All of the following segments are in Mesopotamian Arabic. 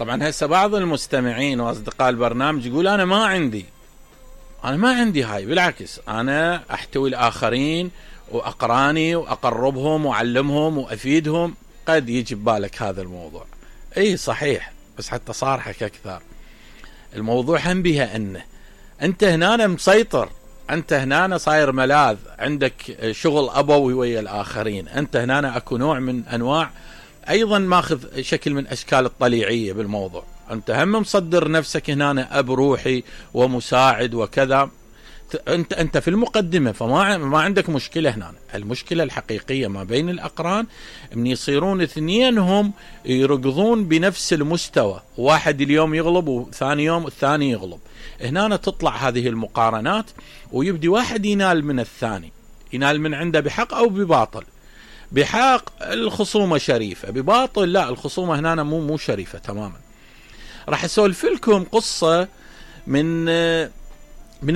طبعا هسه بعض المستمعين واصدقاء البرنامج يقول انا ما عندي هاي، بالعكس انا احتوي الاخرين واقراني واقربهم واعلمهم وافيدهم. قد يجي ببالك هذا الموضوع، اي صحيح، بس حتى صارحك اكثر، الموضوع هم بها انت هنا مسيطر، انت هنا صاير ملاذ، عندك شغل ابوي ويا الاخرين، انت هنا اكو نوع من انواع ايضا ماخذ شكل من اشكال الطليعيه بالموضوع، انت هم مصدر نفسك هنا اب روحي ومساعد وكذا، انت في المقدمه، فما عندك مشكله هنا. المشكله الحقيقيه ما بين الاقران ان يصيرون اثنينهم يركضون بنفس المستوى، واحد اليوم يغلب وثاني يوم الثاني يغلب، هنا تطلع هذه المقارنات ويبدي واحد ينال من الثاني، ينال من عنده بحق او بباطل. بحق الخصومه شريفه، بباطل لا، الخصومه هنا مو شريفه تماما. راح اسولف لكم قصه من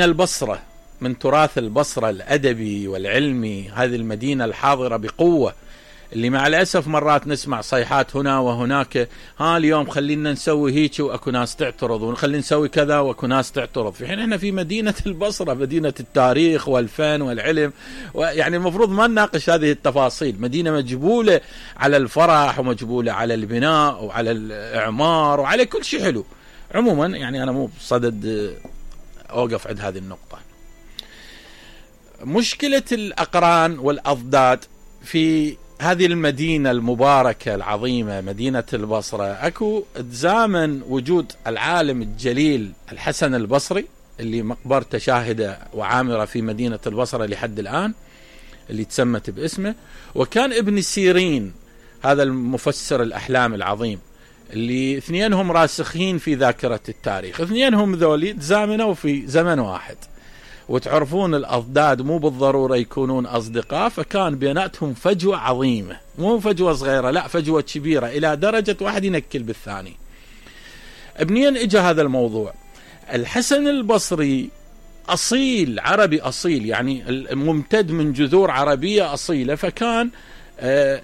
البصرة، من تراث البصرة الأدبي والعلمي، هذه المدينة الحاضرة بقوة، اللي مع الأسف مرات نسمع صيحات هنا وهناك، اليوم خلينا نسوي هيك وأكو ناس تعترض، ونخلي نسوي كذا وأكو ناس تعترض، في حين احنا في مدينة البصرة، مدينة التاريخ والفن والعلم، ويعني المفروض ما نناقش هذه التفاصيل، مدينة مجبولة على الفرح ومجبولة على البناء وعلى الإعمار وعلى كل شيء حلو. عموما يعني أنا مو بصدد أوقف عند هذه النقطة. مشكلة الأقران والأضداد في هذه المدينة المباركة العظيمة مدينة البصرة، أكو تزامن وجود العالم الجليل الحسن البصري اللي مقبرته شاهدة وعامرة في مدينة البصرة لحد الآن، اللي تسمت باسمه، وكان ابن سيرين هذا المفسر الأحلام العظيم، اللي اثنينهم راسخين في ذاكرة التاريخ، اثنينهم ذولي تزامنوا في زمن واحد، وتعرفون الأضداد مو بالضرورة يكونون أصدقاء، فكان بيناتهم فجوة عظيمة، مو فجوة صغيرة، لا فجوة كبيرة إلى درجة واحد ينكل بالثاني. منين اجى هذا الموضوع؟ الحسن البصري أصيل، عربي أصيل، يعني ممتد من جذور عربية أصيلة، فكان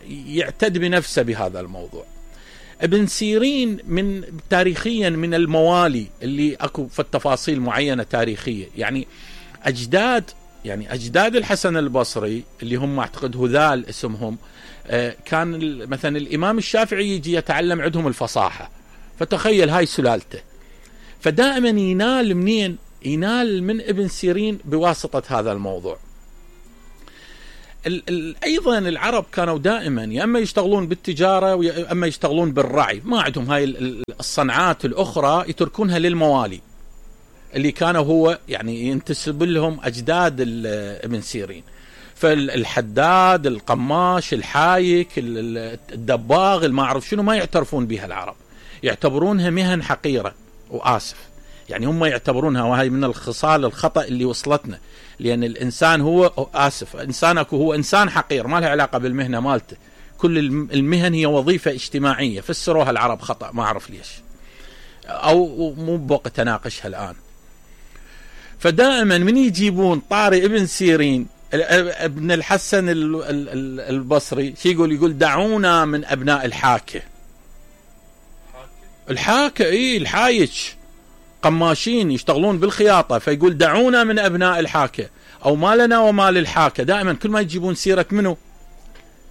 يعتد بنفسه بهذا الموضوع. ابن سيرين من تاريخيا من الموالي اللي اكو في التفاصيل معينة تاريخية، يعني أجداد الحسن البصري اللي هم أعتقد هذال اسمهم، كان مثلا الإمام الشافعي يجي يتعلم عندهم الفصاحة، فتخيل هاي سلالته، فدائما ينال منين؟ ينال من ابن سيرين بواسطة هذا الموضوع. أيضا العرب كانوا دائما يا أما يشتغلون بالتجارة ويا أما يشتغلون بالرعي، ما عندهم هاي الصنعات الأخرى، يتركونها للموالي اللي كانوا هو يعني ينتسب لهم أجداد ابن سيرين. فالحداد، القماش، الحايك، الدباغ، ما أعرف شنو، ما يعترفون بها العرب، يعتبرونها مهن حقيرة، وآسف يعني هم يعتبرونها، وهي من الخصال الخطأ اللي وصلتنا، لأن الإنسان هو إنسانك هو إنسان حقير، ما لها علاقة بالمهنة مالته، كل المهن هي وظيفة اجتماعية، فسروها العرب خطأ، ما أعرف ليش، أو مو بوقت أناقشها الآن. فدائما من يجيبون طاري ابن سيرين ابن الحسن البصري شي يقول دعونا من أبناء الحاكة، الحايك، قماشين يشتغلون بالخياطة، فيقول دعونا من أبناء الحاكة، أو ما لنا وما للحاكة. دائما كل ما يجيبون سيرة منه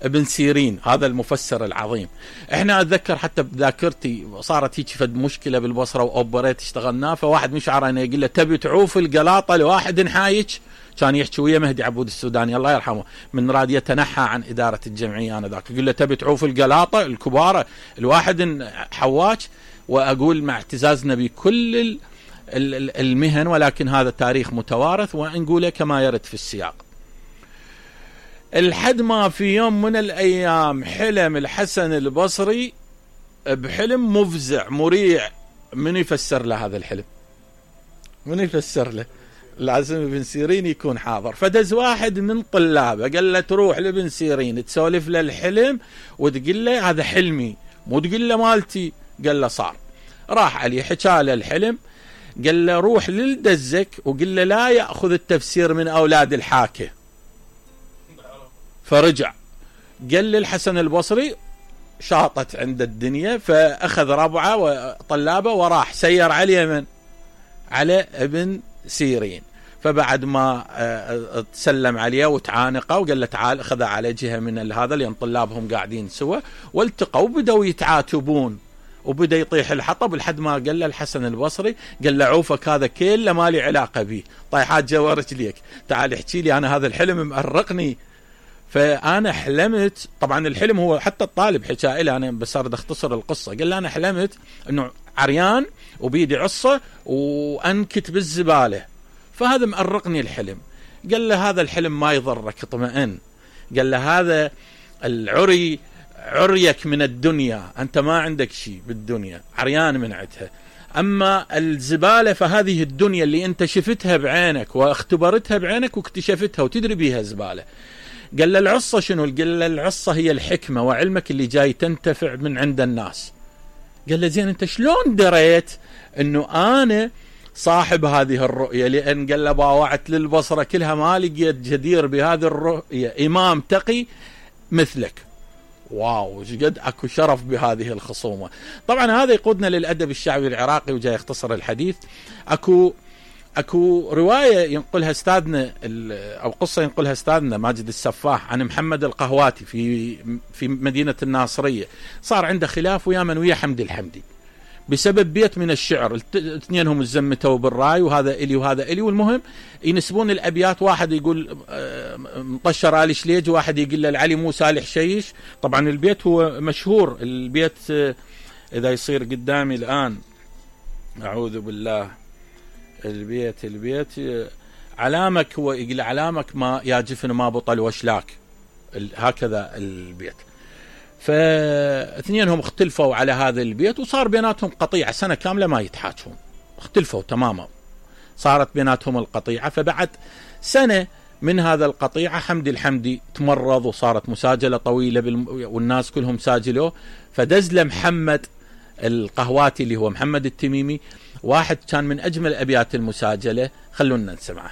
ابن سيرين هذا المفسر العظيم. احنا أتذكر حتى بذاكرتي صارت هيك فد مشكلة بالبصرة وأوبريت اشتغلناه، فواحد مش عارف يقول له تبي تعوف القلاطة لواحد حايك، كان يحكي ويا مهدي عبود السوداني الله يرحمه، من راد يتنحى عن إدارة الجمعية أنا ذاك، يقول له تبي تعوف القلاطة الكبارة الواحد حواج. وأقول مع اعتزازنا بكل المهن، ولكن هذا تاريخ متوارث ونقوله كما يرد في السياق. الحد ما في يوم من الأيام حلم الحسن البصري بحلم مفزع مريع. من يفسر له هذا الحلم؟ من يفسر له؟ لازم ابن سيرين يكون حاضر. فدز واحد من طلابه قال له تروح لابن سيرين تسولف له الحلم وتقول له هذا حلمي، مو تقول له مالتي. قال له صار. راح عليه حكى له الحلم، قال له روح للدزك وقال له لا يأخذ التفسير من أولاد الحاكة. فرجع قال للحسن البصري شاطت عند الدنيا، فأخذ ربعه وطلابه وراح سير على اليمن على ابن سيرين. فبعد ما تسلم عليه وتعانقه وقال له تعال، أخذ على جهة من هذا لأن طلابهم قاعدين سوا، والتقوا وبدأوا يتعاتبون وبدأ يطيح الحطب لحد ما قال له الحسن البصري، قال له عوفك هذا كله ما لي علاقة به، طيحات جوا رجليك، تعال احكي لي أنا هذا الحلم مأرقني. فأنا حلمت، طبعا الحلم هو حتى الطالب حكى لي، أنا بس أريد أختصر القصة، قال لي أنا حلمت أنه عريان وبيدي عصة وأنكت بالزبالة، فهذا مأرقني الحلم. قال له هذا الحلم ما يضرك، اطمئن. قال له هذا العري عريك من الدنيا، أنت ما عندك شيء بالدنيا، عريان من عدها. أما الزبالة فهذه الدنيا اللي أنت شفتها بعينك واختبرتها بعينك واكتشفتها وتدري بيها زبالة. قال له العصة شنو؟ قال له العصة هي الحكمة وعلمك اللي جاي تنتفع من عند الناس. قال له زين أنت شلون دريت أنه أنا صاحب هذه الرؤية؟ لأن قال له باوعت للبصرة كلها ما لقيت جدير بهذه الرؤية إمام تقي مثلك. واو، وش قد اكو شرف بهذه الخصومة. طبعا هذا يقودنا للأدب الشعبي العراقي، وجاي يختصر الحديث. اكو رواية ينقلها استاذنا او قصة ينقلها استاذنا ماجد السفاح عن محمد القهواتي في مدينة الناصرية. صار عنده خلاف ويا من ويا حمد الحمدي بسبب بيت من الشعر، اثنينهم الزمتوا بالراي، وهذا إلي وهذا إلي، والمهم ينسبون الأبيات، واحد يقول مطشر آل شليج، واحد يقول للعلي مو سالح شيش. طبعا البيت هو مشهور، البيت إذا يصير قدامي الآن أعوذ بالله، البيت علامك، هو يقول علامك ما يا جفن ما بطل وشلاك، هكذا البيت. فاثنينهم اختلفوا على هذا البيت، وصار بيناتهم قطيعة سنة كاملة ما يتحاجون، اختلفوا تماما، صارت بيناتهم القطيعة. فبعد سنة من هذا القطيعة حمد الحمدي تمرض وصارت مساجلة طويلة والناس كلهم ساجلوه، فدز لمحمد القهواتي اللي هو محمد التميمي واحد كان من أجمل أبيات المساجلة، خلونا نسمعه.